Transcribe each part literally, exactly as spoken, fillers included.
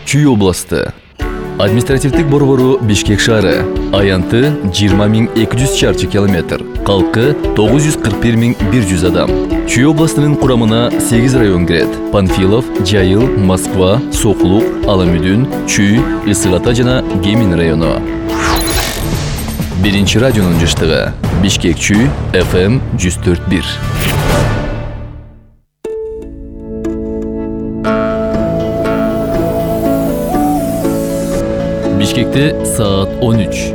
Чүй областы. Административдик борбору Бишкек шаары. Аянты жыйырма миң эки жүз чарчы километр. Калкы тогуз жүз кырк бир миң бир жүз адам. Чүй областынын курамына сегиз район кирет. Панфилов, Жайыл, Москва, Сокулук, Аламүдүн, Чүй, Ысык Ата жана Кемин району. Биринчи радионун жыштыгы. Бишкек Чүй, эф эм жүз төрт бир. Бишкекте саат он үч.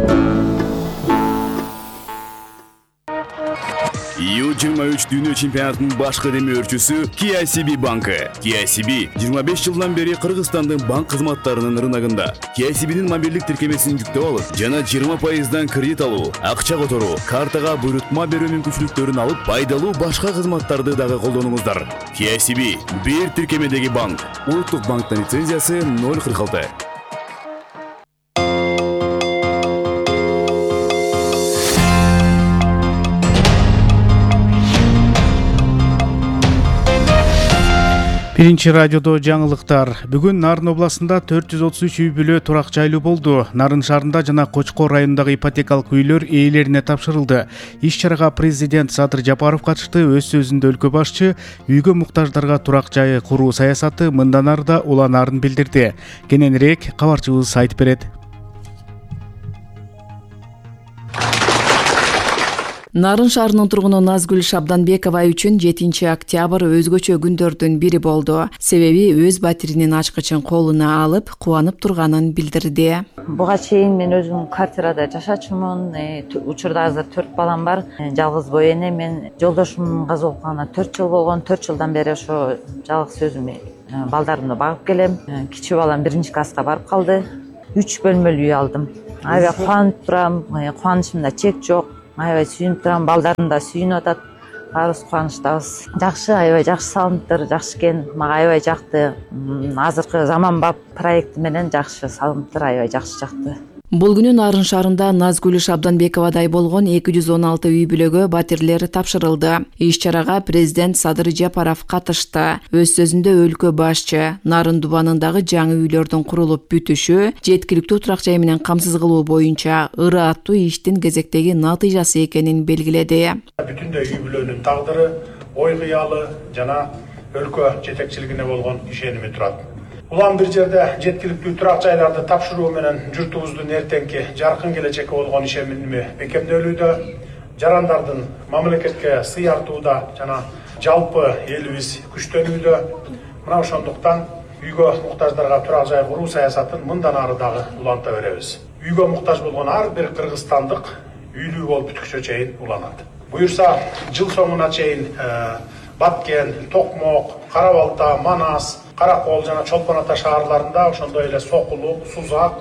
ю жыйырма үч дүйнө чемпионатынын башкы демөөрчүсү K I C B банкы. K I C B жыйырма беш жылдан бери Кыргызстандын банк кызматтарынын рыногунда. K I C B'нин мобилдик тиркемесин жүктөп алып, жана жыйырма пайыздан кредит алуу, акча которуу, картага буйрутма берүү мүмкүнчүлүктөрүн алып, пайдалуу башка кызматтарды дагы колдонуңуздар. K I C B бир тиркемедеги банк. Улуттук банктын лицензиясы ноль кырк алты. Биринчи радиодо жаңылыктар. Бүгүн Нарын областында төрт жүз отуз үч үй бүлө турак жайлуу болду. Нарын шаарында жана Кочкор районундагы ипотекалык үйлөр ээлерине тапшырылды. Иш чарага президент Садыр Жапаров катышты. Өз сөзүндө өлкө башчы үйгө муктаждарга турак жай куруу саясаты мындан ары да уланаарын билдирди. Кененирээк кабарчыбыз айтып берет. Нарын шаарынын тургуну Назгүл Шабданбекова үчүн жетинчи октябрь өзгөчө күндөрдүн бири болду. Себеби өз батиринин ачкычын колуна алып, кубанып турганын билдирди. Буга чейин мен өзүм квартирада жашачумун. Учурда азыр төрт балам бар. Жалгыз бой эне. Мен жолдошумдун каза болгонуна төрт жыл болгон. төрт жылдан бери ошо жалгыз өзүм балдарымды багып келем. Кичүү балам биринчи класска барып калды. үч бөлмөлүү үй алдым. Аябай кубанып турам. Кубанычымда чек жок. Аябай сүйүнүп турам, балдарым да сүйүнүп атат. Баарыбыз кубанычтабыз. Жакшы, аябай жакшы салымдар, жакшы экен. Мага аябай жакты. Азыркы заманбап проекти менен жакшы салымдар, аябай жакшы жакты. Бул күнү Нарын шаарында Назгүл Шабданбековадай болгон эки жүз он алты үй бүлөгө батирлер тапшырылды. Иш чарага президент Садыр Жапаров катышты. Өз сөзүндө өлкө башчы Нарын дубанындагы жаңы үйлөрдүн курулуп бүтүшү, жеткиликтүү турак жай менен камсыз кылуу боюнча ыры аттуу иштин кезектеги натыйжасы экенин белгиледи. Бүтүндөй үй бүлөнүн тагдыры, ой кыялы жана өлкө жетекчилигине болгон ишеними турат. Улам бир жерде жеткиликтүү турак жайларды тапшыруу менен журтубуздун эртеңки жаркын келечекке болгон ишеними бекемделүүдө, жарандардын мамлекетке сыйартууда жана жалпы элибиз күчтөнүүдө. Мына ошондуктан үйгө муктаждарга турак жай куруу саясатын мындан ары дагы уланта беребиз. Үйгө муктаж болгон ар бир кыргызстандык үйлүү болуп бүткүчө чейин уланат. Буюрса, жыл соңуна чейин Баткен, Токмок, Кара Балта, Манас, Каракол жана Чолпон Ата шаарларында, ошондой эле Сокулук, Сузак,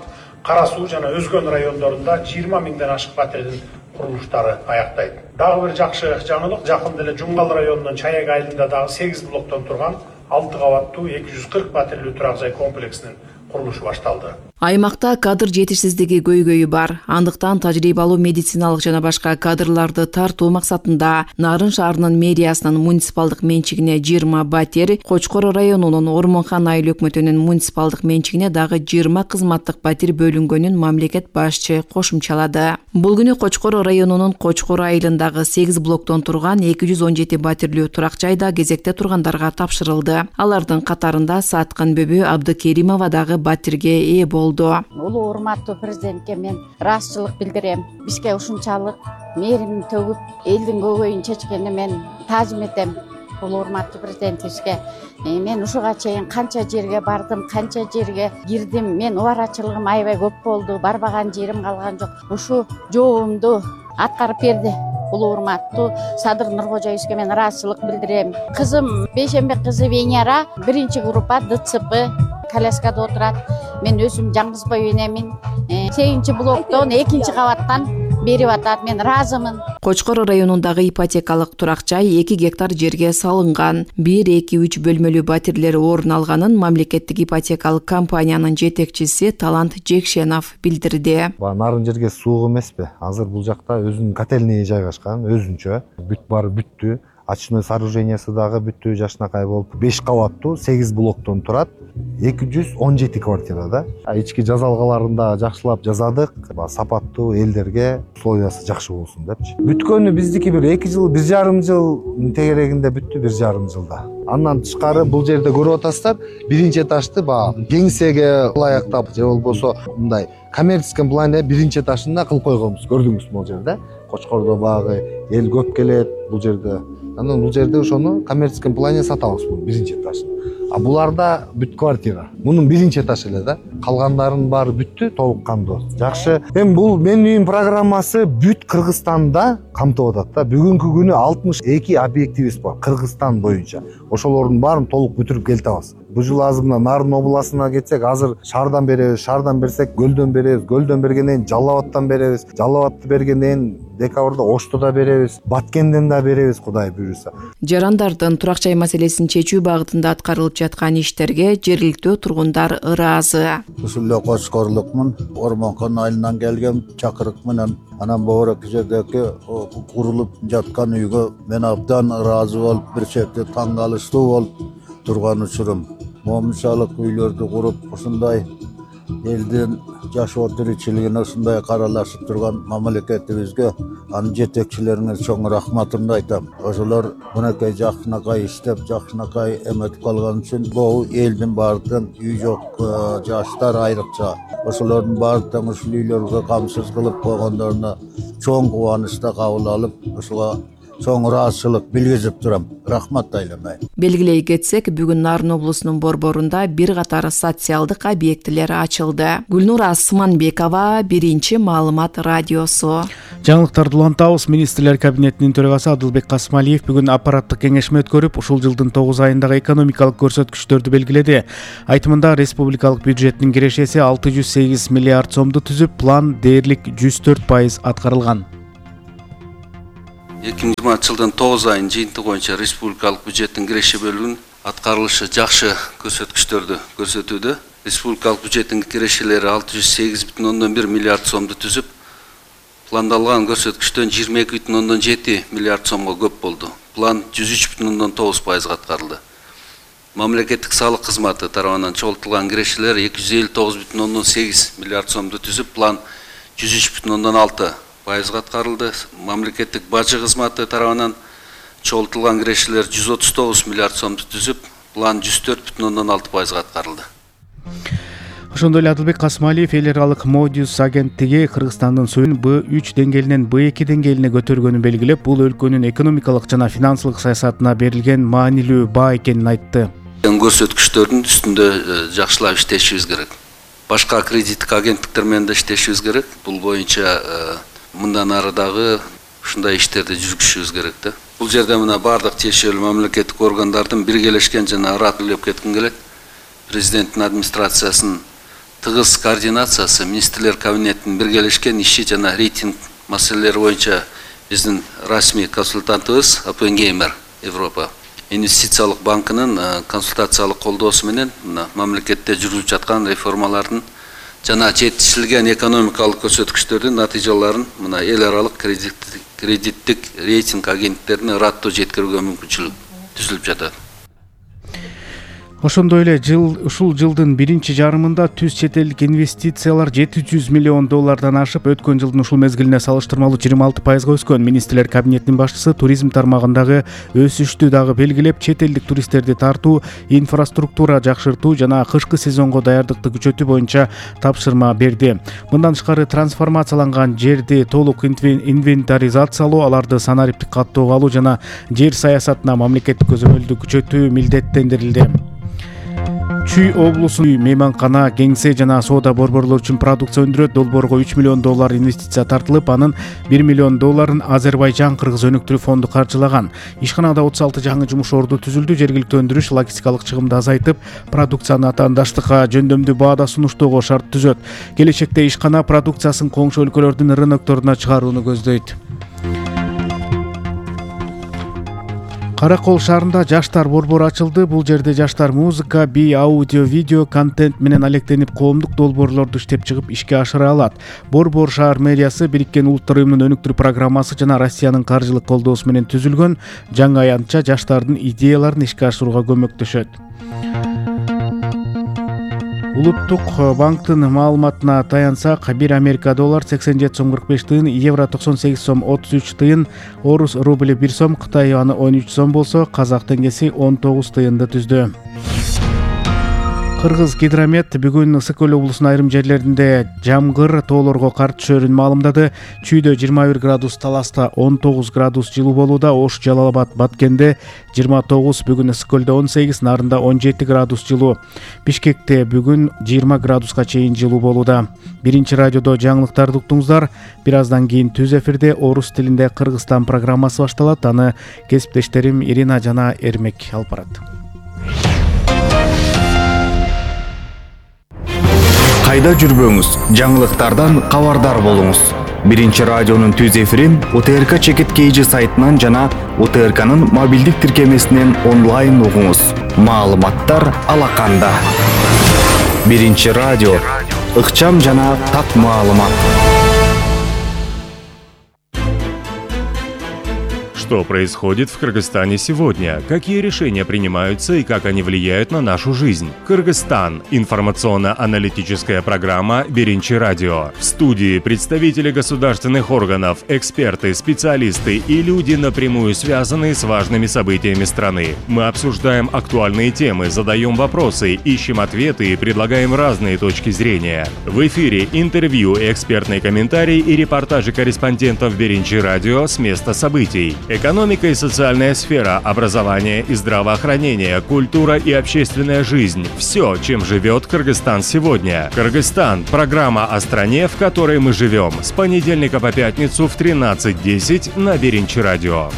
Кара Суу жана өзгөн райондорунда жыйырма миңден ашык батирдин курулуштары аяктайт. Дагы бир жакшы жаңылык, жакында эле Жуңгал районунун Чаяк айылында дагы сегиз блоктон турган алты кабаттуу эки жүз кырк батирлүү турак жай комплексинин курулушу башталды. Аймакта кадр жетишсиздиги көйгөйү бар. Андыктан тажрыйбалуу медициналык жана башка кадрларды тартуу максатында Нарын шаарынын мэриясынын муниципалдык менчигине жыйырма батир, Кочкор районунун Ормонхан айыл өкмөтүнүн муниципалдык менчигине дагы жыйырма кызматтык батир бөлүнгөнүн мамлекет башчы кошумчалады. Бул күнү Кочкор районунун Кочкор айылындагы сегиз блоктон турган эки жүз он жети батирлүү турак жайда кезекте тургандарга тапшырылды. Алардын катарында Саткан Бөбө Абдыкеримова дагы батирге ээ болду. Улуу урматтуу президентке мен ыраазычылык билдирем. Бизге ушунчалык мээрим төгүп, элдин көйгөйүн чечкенине мен таазим этем. Улуу урматтуу президентибизге мен ушуга чейин канча жерге бардым, канча жерге кирдим. Мен убарачылыгым аябай көп болду, барбаган жерим калган жок. Ушу жообумду аткарып берди. Улуу урматтуу Садыр Нуркожоевичке мен ыраазычылык билдирем. Кызым Бейшембек кызы Венера биринчи группа Д Ц П коляскада отурат. Мен өзүм жаңгыз бой энемин. сегизинчи блоктон экинчи кабаттан берип атат. Мен ыраазымын. Кочкор районундагы ипотекалык турак жай эки гектар жерге салынган. бир эки үч бөлмөлүү батирлер орун алганын мамлекеттик ипотекалык компаниянын жетекчиси Талант Жекшенов билдирди. Нарын жерге суук эмеспи? Азыр бул жакта өзүнүн котельный жайгашкан, өзүнчө. Бүт баары бүттү. Очной сооружениясы дагы бүттү, жашынакай болуп. беш кабаттуу сегиз блоктон турат. эки жүз он жети квартирада. Ички жазалгаларында жакшылап жазадык, сапаттуу элдерге условиясы жакшы болсун депчи. Бүткөнү биздики бир эки жыл, бир жарым жыл тегерегинде бүттү, бир жарым жылда. Андан тышкары бул жерде көрүп атасыздар, биринчи этажды баягы кеңсеге ылайыктап же болбосо мындай коммерческий плане биринчи этажында кылып койгонбуз. Көрдүңүзбү бул жерде? Кочкордо багы эл көп келет бул жерде. Анан бул жерде ошону коммерческий плане сатабыз бул биринчи этажын. А буларда бүт квартира. Мунун биринчи этаж эле да. Калгандарынын баары бүттү, толук кандуу. Жакшы. Эми бул менин үйүм программасы бүт Кыргызстанда камтып атат да. Бүгүнкү күнү алтымыш эки объектибиз бар Кыргызстан боюнча. Ошолордун баарын толук бүтүрүп келтебиз. Бул жыл азыр мына Нарын областына кетсек, азыр шаардан беребиз, шаардан берсек Көлдөн беребиз, Көлдөн бергенден кийин Жалал абадтан беребиз, Жалал абадты бергенден кийин декабрда Ошту да беребиз, Баткенден да беребиз, Кудай буйруса. Жарандардын турак жай маселесин чечүү багытында аткарылып жаткан иштерге жергиликтүү тургундар ыраазы. Ушул эле Кочкорлукмун, Ормонкон айылынан келген чакырык менен анан богорок жердеги курулуп жаткан үйгө мен абдан ыраазы болуп, бир чети таң калыштуу болуп турган учурум. Момунчалык үйлөрдү куруп, ушундай элдин жашоо тиричилигине ушундай каралашып турган мамлекетибизге, анын жетекчилерине чоң рахматымды айтам. Ошолор мынакей жакшынакай иштеп, жакшынакай эметип калган үчүн бул элдин баардыгын үй жок жаштар айрыкча ошолордун баардыгын ушул үйлөргө камсыз кылып койгондоруна чоң кубанычта кабыл алып, ушуга чоң ыраазычылык билгизип турам. Рахмат айламай. Белгилей кетсек, бүгүн Нарын облусунун борборунда бир катар социалдык объектилер ачылды. Гүлнура Сыманбекова, Биринчи маалымат радиосу. Жаңылыктарды улантабыз. Министрлер кабинетинин төрагасы Адылбек Касымалиев бүгүн аппараттык кеңешме өткөрүп, ушул жылдын тогуз айындагы экономикалык көрсөткүчтөрдү белгиледи. Айтымында республикалык бюджеттин кирешеси алты жүз сегиз миллиард сомду түзүп, план дээрлик жүз төрт пайыз аткарылган. эки миң жыйырманчы жылдын тогуз айынын жыйынтыгы боюнча республикалык бюджеттин киреше бөлүгүнүн аткарылышы жакшы көрсөткүчтөрдү көрсөтүүдө. Республикалык бюджеттин кирешелери алты жүз сегиз бүтүн ондон бир миллиард сомду түзүп, пландалган көрсөткүчтөн жыйырма эки бүтүн ондон жети миллиард сомго көп болду. План жүз үч бүтүн ондон тогуз пайызга аткарылды. Мамлекеттик салык кызматы тарабынан чогултулган кирешелер эки жүз элүү тогуз бүтүн ондон сегиз миллиард сомду түзүп, план жүз үч бүтүн ондон алты пайызга аткарылды. Мамлекеттик бажы кызматы тарабынан чогултулган кирешелер жүз отуз тогуз миллиард сомду түзүп, план жүз төрт бүтүн ондон алты пайызга аткарылды. Ошондой эле Адылбек Касымалиев эл аралык Модиус агенттиги Кыргызстандын суун Б үч деңгээлинен Б эки деңгээлине көтөргөнүн белгилеп, бул өлкөнүн экономикалык жана финансылык саясатына берилген маанилүү баа экенин айтты. Көрсөткүчтөрдүн үстүндө жакшылап иштешибиз керек. Башка кредиттик агенттиктер менен да иштешибиз керек. Бул боюнча мындан ары дагы ушундай иштерди жүргүзүшүбүз керек да. Бул жерде мына бардык тиешелүү мамлекеттик органдардын биргелешкен жана ратылеп кетким келет. Президенттин администрациясынын тыгыз координациясы, министрлер кабинетинин биргелешкен иши жана рейтинг маселелери боюнча биздин расмий консультантыбыз Оппенгеймер Европа инвестициялык банкынын консультациялык колдоосу менен мамлекетте жүрүлүп жаткан реформалардын жана жетишилген экономикалык көрсөткүчтөрдүн натыйжаларын мына эл аралык кредиттик рейтинг агенттиктерине ыраттуу жеткирүүгө мүмкүнчүлүк түзүлүп жатат. Ошондой эле жыл ушул жылдын биринчи жарымында түз чет элдик инвестициялар жети жүз миллион доллардан ашып, өткөн жылдын ушул мезгилине салыштырмалуу жыйырма алты пайызга өскөн. Министрлер кабинетинин башчысы туризм тармагындагы өсүштү дагы белгилеп, чет элдик туристтерди тартуу, инфраструктура жакшыртуу жана кышкы сезонго даярдыкты күчөтүү боюнча тапшырма берди. Мындан тышкары трансформацияланган жерди толук инвентаризациялоо, аларды санариптик каттоого алуу жана жер саясатына мамлекеттик көзөмөлдү күчөтүү милдеттендирилди. Чүй облусунун мейманкана, кеңсе жана соода борборлор үчүн продукция өндүрөт. Долбоорго үч миллион доллар инвестиция тартылып, анын бир миллион долларын Азербайжан Кыргыз өнүктүрүү фонду каржылаган. Ишканада отуз алты жаңы жумуш орду түзүлдү. Жергиликтүү өндүрүш логистикалык чыгымды азайтып, продукцияны атаандаштыкка жөндөмдүү баада сунуштоого шарт түзөт. Келечекте ишкана продукциясын коңшу өлкөлөрдүн рынокторуна чыгарууну көздөйт. Каракол шаарында жаштар борбору ачылды. Бул жерде жаштар музыка, би, аудио, видео контент менен алектенип, коомдук долбоорлорду иштеп чыгып ишке ашыра алат. Борбор шаар мэриясы Бириккен Улуттар уюмунун өнүктүрүү программасы жана Россиянын каржылык колдоосу менен түзүлгөн жаңы аянтча жаштардын идеяларын ишке ашырууга көмөктөшөт. Улуттук банктын маалыматына таянсак, бир Америка доллар сексен жети сом кырк беш тыйын, евро токсон сегиз сом отуз үч тыйын, орус рубль бир сом, Кытай юаны он үч сом болсо, казак теңгеси он тогуз тыйынды түздү. Кыргыз гидромет бүгүн Ысык Көл облусунун айрым жерлеринде жамгыр, тоолорго кар түшөрүн маалымдады. Чүйдө жыйырма бир градус, Таласта он тогуз градус жылуу болууда, Ош, Жалал Абад, Баткенде жыйырма тогуз, бүгүн Ысык Көлдө он сегиз, Нарында он жети градус жылуу. Бишкекте бүгүн жыйырма градуска чейин жылуу болууда. Биринчи радиодо жаңылыктарды уктуңуздар. Бир аздан кийин түз эфирде орус тилинде Кыргызстан программасы башталат. Аны кесиптештерим Ирина жана Эрмек алып барат. Кайда жүрбөңүз, жаңылыктардан кабардар болуңуз. Биринчи радионун түз эфирин У Т Р К Чекит Кейжи сайтынан жана У Т Р К'нын мобилдик тиркемесинен онлайн угуңуз. Маалыматтар алаканда. Биринчи радио. Ыкчам жана так маалымат. Что происходит в Кыргызстане сегодня? Какие решения принимаются и как они влияют на нашу жизнь? Кыргызстан. Информационно-аналитическая программа «Биринчи радио». В студии представители государственных органов, эксперты, специалисты и люди, напрямую связанные с важными событиями страны. Мы обсуждаем актуальные темы, задаем вопросы, ищем ответы и предлагаем разные точки зрения. В эфире интервью, экспертные комментарии и репортажи корреспондентов «Биринчи радио» с места событий. Экономика и социальная сфера, образование и здравоохранение, культура и общественная жизнь – все, чем живет Кыргызстан сегодня. Кыргызстан – программа о стране, в которой мы живем. С понедельника по пятницу в тринадцать десять на Биринчи радио.